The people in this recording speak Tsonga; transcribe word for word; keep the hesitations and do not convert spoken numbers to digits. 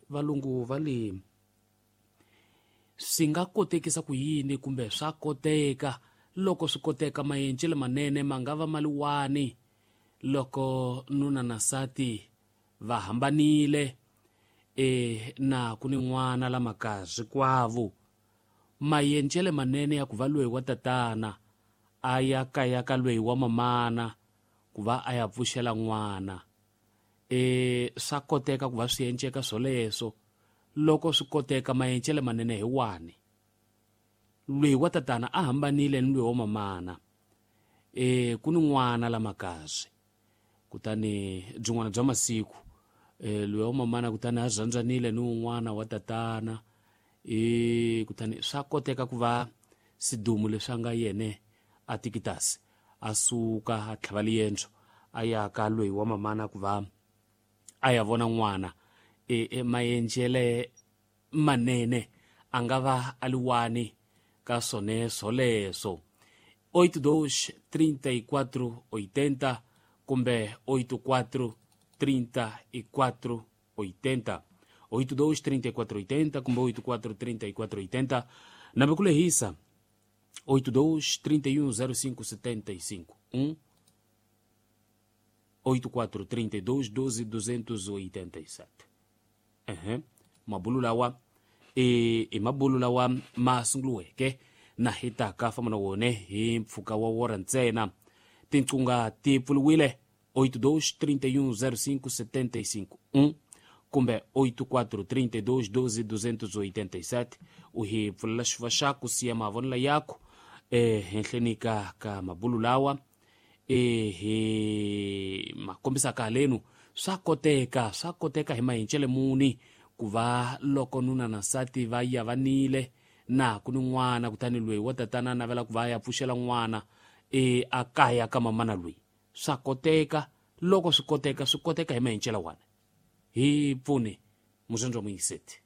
Valungu va le swi nga kotekisa ku yini kumbe swa koteka? Loko swi koteka, maendlelo manene ma nga va maliwani loko nuna na nsati va hambanile e na ku ni n'wana la makazi kwavo? Maendlelo manene ya ku va loyi wa tatana a ya kaya ka loyi wa mamana ku va a ya pfuxela n'wana, e swa koteka ku va swi enceka swoleswo? Loko swi koteka, maendlelo manene hi wani? Loyi wa tatana a hambanile ni loyi wa mamana, e ku ni n'wana la makazi, kutani byin'wana bya masiku e loyi wa mamana kutani a rhandzanile ni un'wana wa tatana, e kutani swa koteka ku va sidumu leswi a nga yene a tikitasi a suka a tlhava liendzo a ya ka loyi wa mamana ku va a ya vona n'wana? E, e maendlele manene a nga va a liwani ka swone swoleswo? oito dois trinta e quatro oitenta kumbe oito quatro trinta e quatro oitenta, oito dois trinta e quatro oitenta kumbe oito quatro trinta e quatro oitenta. Nambe ku lehisa oito dois trinta e um zero cinco setenta e cinco, um oito quatro trinta e dois doze duzentos oitenta e sete. Ehe, mabulu lawa e i mabulu lawa ma sunguriweke na hi taka famba na wone hi mpfhuka wa wora ntsena. Tinqunga ti pfuriwile oito dois trinta e um zero cinco setenta e cinco, um kumbe oito quatro trinta e dois doze duzentos oitenta e sete. U hi pfulela xifuva xaku, siya mavonelo yaku e henhleni ka ka mabulu lawa e hi ma kombisaka halenu. Swa koteka, swa koteka hi mahencele muni ku va loko nuna na nsati va yavanile na ku ni n'wana, kutani loyi wa tatana a navela ku va ya pfuxela n'wana e a kaya ka mamana loyi? Swa koteka? Loko swi koteka, swi koteka hi mahencela wani? Hi pfuni mutsongo wa muyingiseti.